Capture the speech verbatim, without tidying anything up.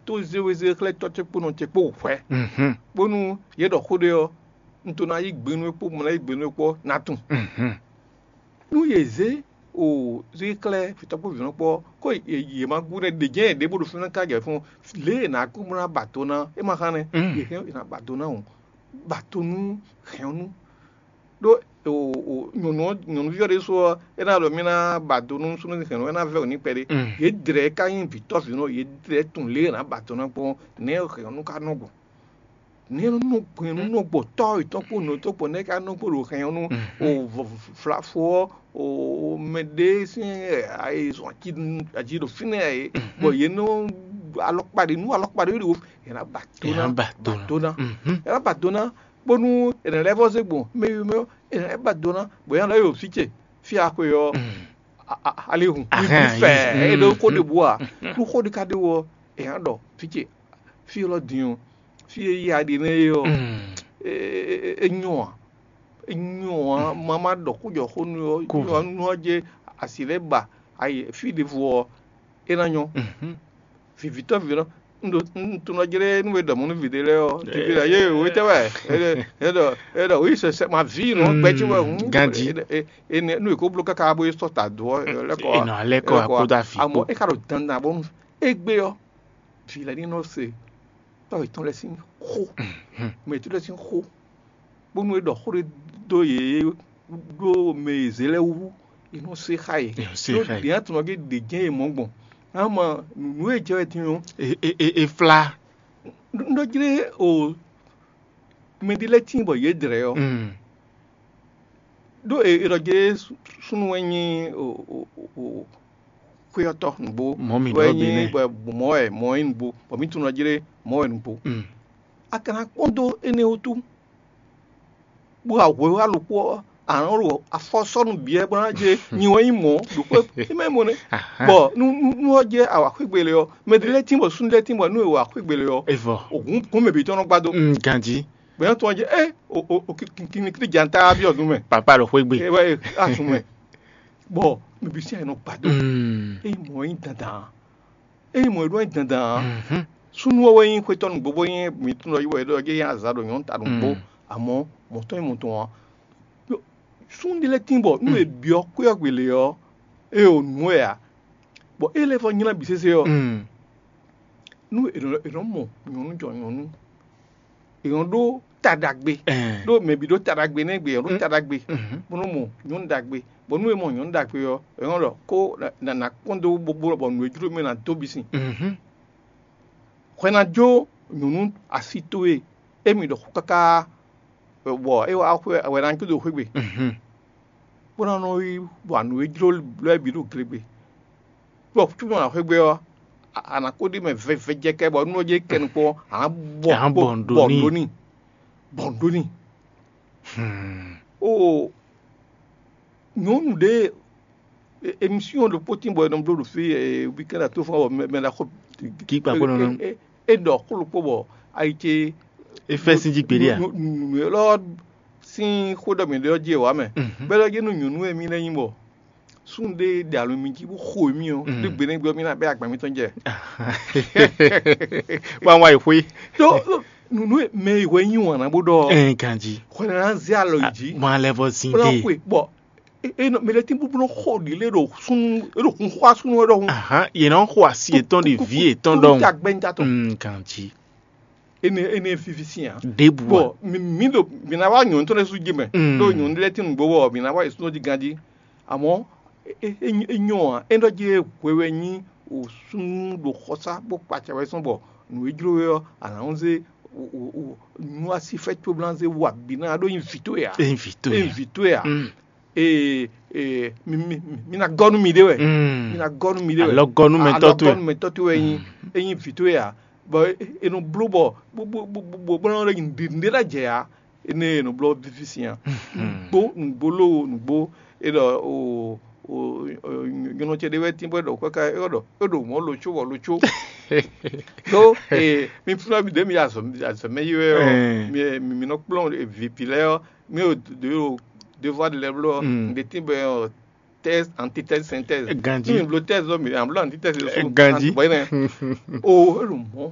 tó zé we zé xlɛ́ tɔ́ ce kpó nɔ ce kpó hwɛ̌, bónú yě ɖɔ xó ɖé ɔ́, un to ná yí gbe nú é kpó, un ná yí gbe nú é kpó ɔ́, ná tunwun. Nú yě zé o zé xlɛ́ vǐtɔ́ kpó vǐnɔ kpó ɔ́, có yě ma gúdo ɖě jɛ́n yě ɖěbǔ ɖo fínɛ́ ká jɛ fún lě e è nǎ kú bó ná ba do ná é ma hán nɛ́. Yě hɛn è nǎ ba do ná o, ba do nú hɛn ɔ́ nú ɖó nyɔ̌nu nyɔ̌nuví ɔ́ ɖésú ɔ́, é ná ɖɔ mì ná ba do nú súnnu hɛn ɔ́, é ná vɛ́ wǔ n'i kpɛɖé. Yě dlɛ̌ ka nyí vǐtɔ́ vǐnɔ, yě dlɛ̌ tunwun lě e è nǎ ba do ná gbɔn nɛ̌ hɛn ɔ́ nú ka nɔ gbɔn. Nɛ̌ nɔ gbɛn nú nɔ gbɔ tɔ́ yětɔn kpó nɔ tɔn kpó nɛ̌ ka nɔ gbɔ ɖo hɛn ɔ́ nú o flafo ɔ́, o mɛ ɖé sín ayizɔn ají ɖo fínɛ́ ɛ, bɔ yě nɔ alɔkpa ɖé nú alɔkpa ɖé ɖo yě ná ba do ná ba do ná. Yě ná ba do ná bónú è nǎ lɛ́ vɔ́ zé gbɔn mɛ e mɛ ɔ́, è nǎ lɛ́ ba do ná, bɔ yě ná lɛ́ yi ɖo fí ce fí e a xwe ɔ́, ali hun fɛ é ɖó xó ɖěbǔ ǎ. Nú xó ɖé ka ɖé wú ɔ́, è nǎ ɖɔ fí ce fí élɔ́ din ɔ́, fí e yí a ɖe nɛ́ é ɔ́, é nyɔ́ ǎ. É nyɔ́ ǎ, ma ma ɖɔ xó jɔ xó nú ɔ́, nú ɔ́ jɛ asi lɛ́ ba ayi fí ɖěvo ɔ́, é ná nyɔ́. Vivitɔ́ vǐnɔ un ɖo un tunɔ jlé nú we ɖɔ mɔ̌ nú vǐ ɖé lɛ́ɛ ɔ́, vǐ ɖé lɛ́ɛ yé wǒ tɛ́ wɛ? É ɖɔ é ɖɔ wǐ sɛsɛ ma vǐ nɔ gbɛ́ ce wɛ hǔn. Ganjí. Énɛ́ nú è ko bló káká bó yi sɔ́ ta dó ɔ́, lɛ́ kɔ È nɔ alɛ́ kɔ akpódó afi amɔ̌ kpó. É ka ɖo dandan bónú égbé ɔ́, vǐ lɛ́ɛ ní nɔ se tɔ́ yětɔn lɛ́ɛ sín xó, mɛ yětɔn lɛ́ɛ sín xó, bónú é ɖɔ xó ɖé dó yě ɖó mɛ e zě lɛ́ɛ wú, è nɔ se xá yě. È nɔ se xá yě. Ɖě atɔnɔ gé ɖě jɛ́n è mɔ gbɔn. Ama nǔ e jɛ wɛ din ɔ́, e e e e flá. Un ɖɔ jlé o mɛ ɖé lɛ́ɛ tíin bɔ yě dlɛ̌ ɔ́, ɖó è è ɖɔ jlé súnnu wɛ nyí o o o xwéyɔ́tɔ́ nǔgbó. Mɔ̌ mǐ wɛ ɖɔ nyí bǐ nɛ́. Bɔ mɔ̌ wɛ mɔ̌ nyí nǔgbó, bɔ mǐ tunɔ jlé mɔ̌ wɛ nǔgbó. A ka ná kpɔ́n dó énɛ́ wútu, bó wa hwɛ wá ɖokpó ɔ́, a nǎ ɖo afɔ sɔ́ nú bǐ wɛ bó ná jɛ nyi wɛ nyí mɔ̌ ɖokpó é mɛ mɔ nɛ́. Bɔ nú nú nú ɔ́ jɛ awǎ xwé gbélé ɔ́, mɛ ɖé lɛ́ɛ tín bɔ súnnu lɛ́ɛ tín bɔ nú è wa xwé gbélé ɔ́, Evɔ. Ògún gún mɛ bǐ tɔn nɔ gbá dó. Mm, ganjí. Bɛ̌ tɔn jɛ ɛ o o o kinnikín janta byɔ́ nú mɛ. Papa ɖo xwé gbe. Ewɛ asun mɛ. Bɔ mɛ bǐ sín ayǐ nɔ gbá dó. Mm. Ényí mɔ̌ nyí dandan ényí mɔ̌ ɖó nyí dandan súnnu ɔ́ wɛ nyí xwétɔ́ nǔgbó bó nyí mǐtɔn ɖɔ yí wɛ ɖɔ yé nyí azǎ ɖo nyɔ̌nu ta nǔgbó. Amɔ̌ mɔ̌ tɔn nyí mɔ̌ tɔn ǎ. Súnnu ɖé lɛ́ɛ tín bɔ nú è byɔ́ xwé ɔ́ gbe lě ɔ́, é ɖo nǔ wɛ ǎ. Bɔ é lɛ́ vɔ nylá bǐ sésé ɔ́, nú è nɔ è nɔ mɔ nyɔ̌nu jɔ nyɔ̌nu, è nɔ ɖó ta ɖagbe. Ɖó mɛ bǐ ɖó ta ɖagbe nɛ́ gbe è nɔ ɖó ta ɖagbe, bó nɔ mɔ nyɔ̌nu ɖagbe. Bɔ nú è mɔ nyɔ̌nu ɖagbe ɔ́, è nɔ ɖɔ kó nǎ nǎ kpɔ́n dó bó bó bɔ nǔ e jló mì ná dó bǐ sin. Hwɛ ná jó nyɔ̌nu asi towe émí ɖɔ xó káká, bɔ é wá xwé wɛ ná jó dó xwé gbe, bó ná nɔ yi wa nǔ e jló lɛ́ɛ bǐ ɖo gle gbe. Bɔ cúnú ná xwé gbe ɔ́, a nǎ kó ɖi mɛ vɛvɛjɛkɛ bɔ nú ɔ́ jɛ kɛ nukpɔ́n, a nǎ bɔ Ǎ bɔ bɔ nǔ ɖó nǔ n'i. Ɖó n'i, bɔ nǔ ɖó n'i. Oo, nyɔ̌nu ɖé émission ɖokpó tín bɔ è nɔ bló ɖo fí weekend atófɔ́n bɔ mɛ ɖaxó Kí kpakpó nɔ nɔ. É ɖɔ xó ɖokpó bɔ ayi ce É fɛ́ sín jí gbeɖé a? Nǔ élɔ́ sín xó ɖɔ mǐ ɖe ɔ́ jí è wǎ mɛ. Bɛ́ ɖɔ jí nú nyɔ̌nu e mì lɛ́ nyí bɔ súnnu ɖé ɖe alo mi jí bó xo mì ɔ́, ɖé gbe nɛ́ gbe ɔ́, mì ná bɛ́ agban mǐtɔn jɛ. Wá wá yi xwé. Ɖó nǔnú e mɛ e hwɛ nyí wǎn ná bó ɖɔ Ɛn ganjí. Hwɛ ná zé alɔ yi jí. Mɔ alɛ vɔ zin Bó ná dé. Xwe bɔ e- e nɔ- mɛ lɛ tín búbú nɔ xɔ ɖi lé ɖo súnnu e ɖo hun xɔ súnnu wɛ ɖɔhun. Ahan, yě nɔ xɔ asi yětɔn ɖi vǐ yětɔn ɖɔhun. Tagbe ŋutɔ. Mm, ganjí. Ene ene fifi sian. Ɖěbǔ bɔ a? Mi mi ɖo mi na wá nyɔ̌nu tɔn lɛ́ɛ sú jí mɛ. Mm. Ɖo nyɔ̌nu lɛ́ɛ tín nǔgbó bɔ mi na wá yě súnnu jí ganjí. Àmọ́ é é é nyɔ ǎ, é ɖɔ jí hwewɛ nyí o súnnu ɖo xɔsá bó kpa acɛ wɛ sɔn bɔ nǔ e jló we ɔ́, a nǎ nɔ zé o o o nú así fɛ́ cóblán zé wa bǐ ná ɖó nyi vǐ towe ǎ. É nyí vǐ towe É nyí ǎ. Vǐ towe ǎ. Mm. Ee ee mi mi mi ná gɔ́ nú miɖée wɛ. Mm. Mi ná gɔ́ nú miɖée wɛ. Alɔgɔ́númɛtɔ́ towe. Alɔgɔ́númɛtɔ́ towe wɛ nyí. Mm. É nyí vǐ towe ǎ. Bɔ é nɔ bló bɔ bó bó bó bó bó nɔ ɖe nǔɖé ɖé ná jɛ ǎ. Énɛ́ e nɔ blɔ́ fífí sin a. Nǔgbó nǔgbó lóo nǔgbó é ɖɔ o o o nyɔnɔ ce ɖé wɛ tín bɔ é ɖɔ káká é ɖɔ é ɖo mɔ̌ lo có bɔ lo có. Ɖó ee mi flɔ́ mi ɖě mi azɔ azɔ mɛ yi wɛ ɔ́, mi mi mi nɔ kplɔ́n vǐ vǐ lɛ́ɛ ɔ́, mi ɖo ɖo devoir de lɛbló ɔ́, Mm. Ɖě tín bɔ ɔ thèse, antithèse, synthèse. Ganjí. Mi bló thèse ɔ́, mi bló antithèse ɔ́. Ganjí. Bɔ é nɛ o é ɖo mɔ̌